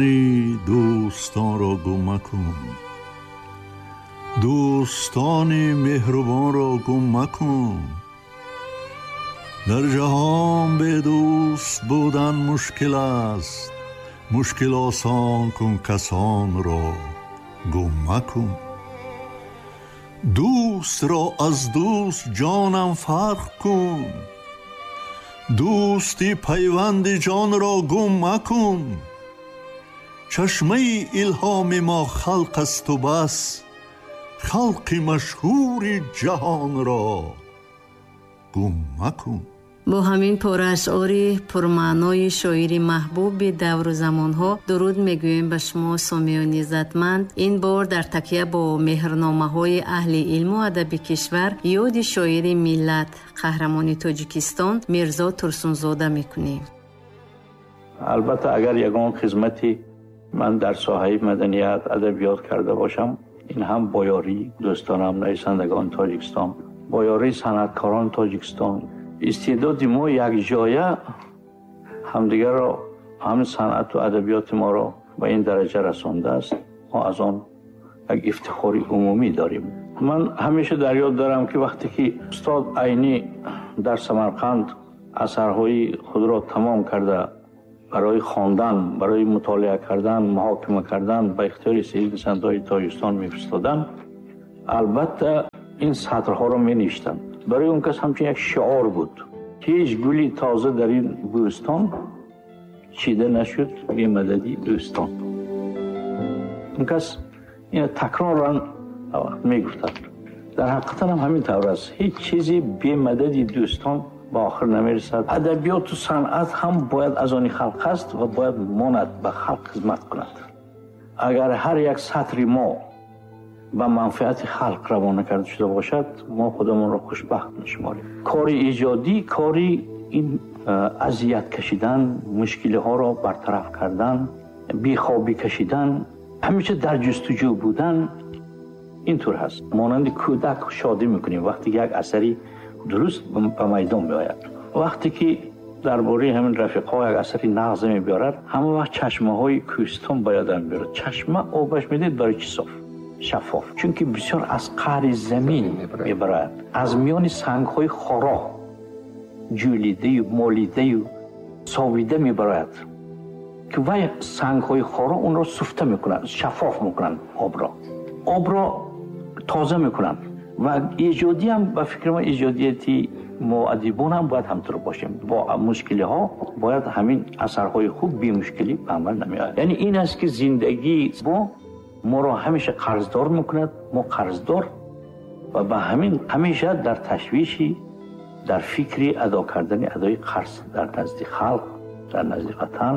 Дӯстонро гум макун, дӯстони меҳрубонро гум макун. Дар ҷаҳон бе дӯст будан мушкил аст, мушкил осон кун касонро гум макун. Дӯстро аз дӯст ҷонам фарқ кун, дӯсти пайванди ҷонро гум макун. Чашмаи илҳоми мо халқ асту бас, халқи машҳури ҷаҳонро гум макун. Бо ҳамин пора ашъори пурмаънои шоири маҳбуби давру замонҳо дуруд мегӯем ба шумо, сомиёни иззатманд. Ин бор дар такя бо меҳрномаҳои аҳли илму адаби кишвар ёди шоири миллат, қаҳрамони Тоҷикистон Мирзо Турсунзода мекунем. Албатта, агар ягон хизмати ман дар соҳаи маданият, адабиёт карда бошам, ин ҳам бо ёрии дӯстонам, нависандагони Тоҷикистон, бо ёрии санъаткорони Тоҷикистон. Истеъдоди мо якҷоя ҳамдигарро, ҳамин санъату адабиёти моро ба ин дараҷа расондааст. Мо аз он як ифтихори умумӣ дорем. Ман ҳамеша дар ёд дорам, ки вақте ки устод Айнӣ дар Самарқанд асарҳои худро тамом карда барои хондан, барои мутолиа кардан, муҳокима кардан ба ихтиёри нависандаҳои Тоҷикистон мефиристоданд, албатта ин сатрҳоро менавиштанд. Барои он кас ҳамчун як шиор буд: ҳеҷ гули тоза дар ин бӯстон чида нашуд бемадади дӯстон. Он кас ина такроран мегуфтанд. Дар ҳақиқатан ҳам ҳамин тавр аст. Ҳеҷ чизе бемадади дӯстон ба охир намерасад. Адабиёту санъат ҳам бояд аз они халқ аст ва бояд монад, ба халқ хизмат кунад. Агар ҳар як сатри мо ба манфиати халқ равона карда шуда бошад, мо худамонро хушбахт мешуморем. Кори эҷодӣ, кори ин азият кашидан, мушкилиҳоро бартараф кардан, бехобӣ кашидан, ҳамеша дар ҷустуҷӯ будан, ин тур ҳаст. Монанди кӯдак шодӣ мекунем вақте ки як асари дуруст ба майдон меояд. Вақте ки дар бораи ҳамин рафиқҳо як асари нағз мебиёрад, ҳама вақт чашмаҳои кӯҳистон ба ёдам меорад. Чашма обаш медид барои чӣ соф, шаффоф, чунки бисёр аз қаъри замин мебарояд, аз миёни сангҳои хоро ҷӯлидаю молидаю совида мебарояд, ки вай сангҳои хоро онро суфта мекунанд, шаффоф мекунанд, обро тоза мекунанд. Ва эҷодиам, ба фикри ман, эҷодияти мо адибон ҳам бояд ҳамтур бошем. Бо мушкилиҳо бояд ҳамин асарҳои хуб бемушкилӣ ба амал намеояд. Яъне ин аст, ки зиндагии мо моро ҳамеша қарздор мекунад, мо қарздор ва ба ҳамин ҳамеша дар ташвиши, дар фикри адо кардани адои қарз дар назди халқ, дар назди ватан.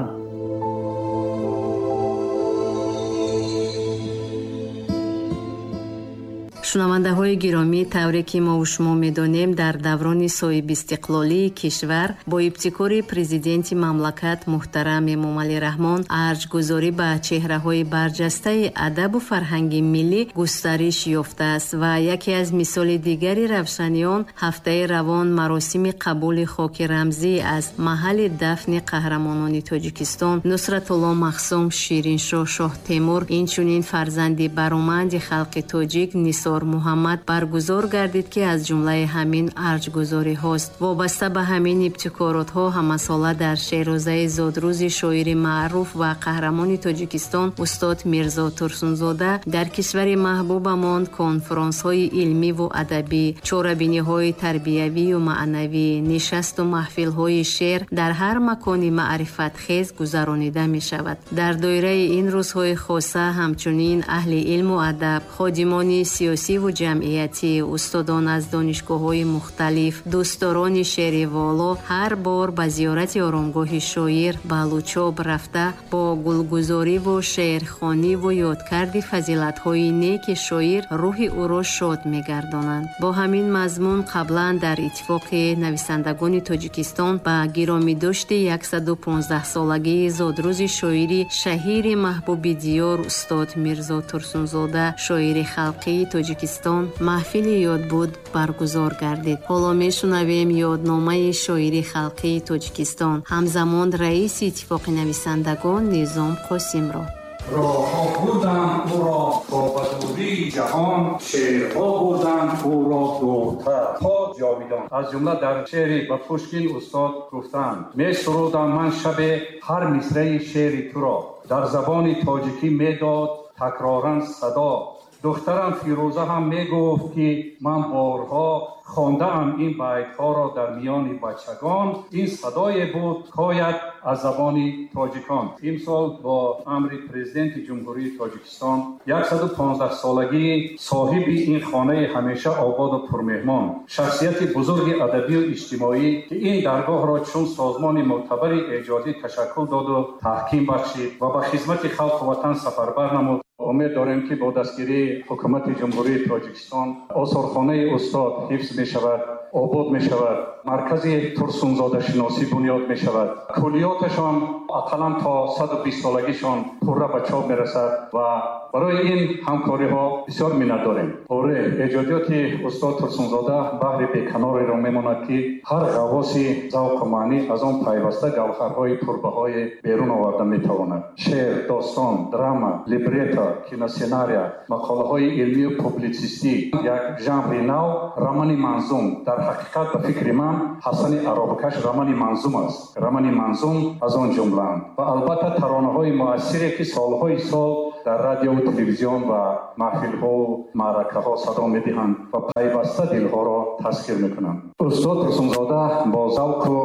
Шунавандаҳои гиромӣ, тавре ки мову шумо медонем, дар даврони соҳибистиқлолии кишвар бо ибтикори президенти мамлакат муҳтарам Эмомалӣ Раҳмон арҷгузорӣ ба чеҳраҳои барҷастаи адабу фарҳанги миллӣ густариш ёфтааст ва яке аз мисоли дигари равшани он ҳафтаи равон маросими қабули хоки рамзӣ аз маҳалли дафни қаҳрамонони Тоҷикистон Нусратулло Махсум, Шириншоҳ Шоҳтемур, инчунин фарзанди бароманди халқи тоҷик Нисор Муҳаммад баргузор гардид, ки аз ҷумлаи ҳамин арҷгузориҳост. Вобаста ба ҳамин ибтикоротҳо ҳамасола дар шерозаи зодрӯзи шоири маъруф ва қаҳрамони Тоҷикистон устод Мирзо Турсунзода дар кишвари маҳбубамон конфронсҳои илмиву адабӣ, чорабиниҳои тарбиявию маънавӣ, нишасту маҳфилҳои шеър дар ҳар макони маърифатхез гузаронида мешавад. Дар доираи ин рӯзҳои хоса ҳамчунин аҳли илму адаб, ходимони сиёсӣ сиёсиву ҷамъиятӣ, устодон аз донишгоҳҳои мухталиф, дӯстдорони шеъри воло ҳар бор ба зиёрати оромгоҳи шоир ба Лучоб рафта бо гулгузориву шеърхониву ёдкарди фазилатҳои неки шоир рӯҳи ӯро шод мегардонанд. Бо ҳамин мазмун қаблан дар Иттифоқи нависандагони Тоҷикистон ба гиромидошти 115-солагии зодрӯзи шоири шаҳири маҳбуби диёр устод Мирзо Турсунзода, шоири халқии Тоҷикистон Тоҷикистон маҳфили ёдбуд баргузор гардид. Ҳоло мешунавем ёдномаи шоири халқии Тоҷикистон, ҳамзамон раиси Иттифоқи нависандагон Низом Қосимро. Роҳҳо бурданд ӯро то ба дурии ҷаҳон, шеърҳо бурданд ӯро дуртар то ҷовидон. Аз ҷумла дар шеъри ба Пушкин устод гуфтанд: месурудам ман шабе ҳар мисраи шеъри туро, дар забони тоҷикӣ медод такроран садо. Духтарам Фирӯза ҳам мегуфт, ки ман борҳо хондаам ин байтҳоро дар миёни бачагон. Ин садое буд кояд аз забони тоҷикон. Имсол бо амри Президенти Ҷумҳурии Тоҷикистон 115-солагии соҳиби ин хонаи ҳамеша ободу пурмеҳмон, шахсияти бузурги адабию иҷтимоӣ, ки ин даргоҳро чун созмони мӯътабари эҷодӣ ташаккул доду таҳким бахшид ва ба хизмати халқу ватан сафарбар намуд. Умед дорем, ки бо дастгирии Ҳукумати Ҷумҳурии Тоҷикистон осорхонаи устод ҳифз мешавад, обод мешавад, маркази турсунзодашиносӣ бунёд мешавад, куллиёташон ақаллан то 120-солагишон пурра ба чоп мерасад ва барои ин ҳамкориҳо бисёр миннатдорем. Оре, эҷодиёти устод Турсунзода баҳри беканореро мемонад, ки ҳар ғаввоси завқу маънӣ аз он пайваста гавҳарҳои пурбаҳое берун оварда метавонад. Шеър, достон, драма, либрето, киносценария, мақолаҳои илмию публитсистӣ, як жанри нав, романи манзум. Дар ҳақиқат, ба фикри ман, Ҳасани аробакаш романи манзум аст. Романи манзум аз он ҷумлаанд ва албатта таронаҳои муассире, ки солҳои сол дар радиову телевизион ва маҳфилҳову маъракаҳо садо медиҳанд ва пайваста дилҳоро тасхир мекунанд. Устод Турсунзода бо завқу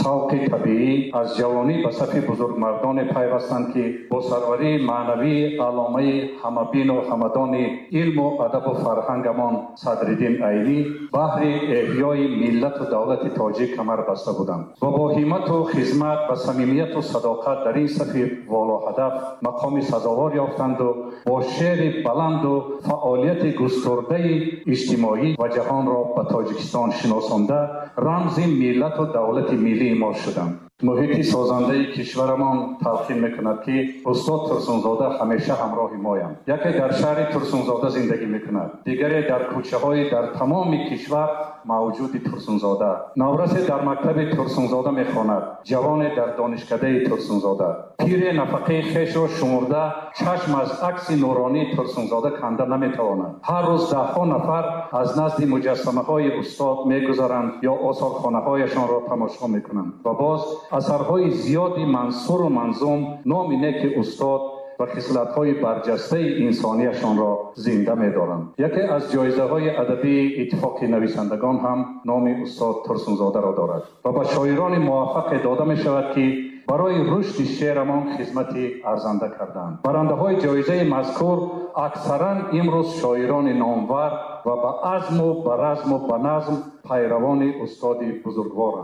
савқи табиӣ аз ҷавонӣ ба сафи бузургмардоне пайвастанд, ки бо сарварии маънавии алломаи ҳамабину ҳамадони илму адабу фарҳангамон Садриддин Айнӣ баҳри эҳёи миллату давлати тоҷик камар баста буданд ва бо ҳиммату хизмат ба самимияту садоқат дар ин сафи волоҳадаф мақоми сазовор ёфтанду бо шеъри баланду фаъолияти густурдаи иҷтимоӣ ва ҷаҳонро ба Тоҷикистон шиносонда, рамзи миллату давлати миллии мо шуданд. Муҳити созандаи кишварамон талқин мекунад, ки устод Турсунзода ҳамеша ҳамроҳи моянд. Яке дар шаҳри Турсунзода зиндагӣ мекунад, дигаре дар кӯчаҳои дар тамоми кишвар мавҷуди Турсунзода. Наврасе дар мактаби Турсунзода мехонад, ҷавоне дар донишкадаи Турсунзода, пире нафақаи хешро шумурда, чашм аз акси нуронии Турсунзода канда наметавонад. Ҳар рӯз даҳҳо нафар аз назди муҷассамаҳои устод мегузаранд ё осорхонаҳояшонро тамошо мекунанд ва боз асарҳои зиёди мансуру манзум номи неки устод ва хислатҳои барҷастаи инсонияшонро зинда медоранд. Яке аз ҷоизаҳои адабии Иттифоқи нависандагон ҳам номи устод Турсунзодаро дорад ва ба шоирони муваффақе дода мешавад, ки барои рушди шеърамон хизмати арзанда карданд. Барандаҳои ҷоизаи мазкур аксаран имрӯз шоирони номвар ва ба азму ба разму ба назм пайравони устоди бузургворанд.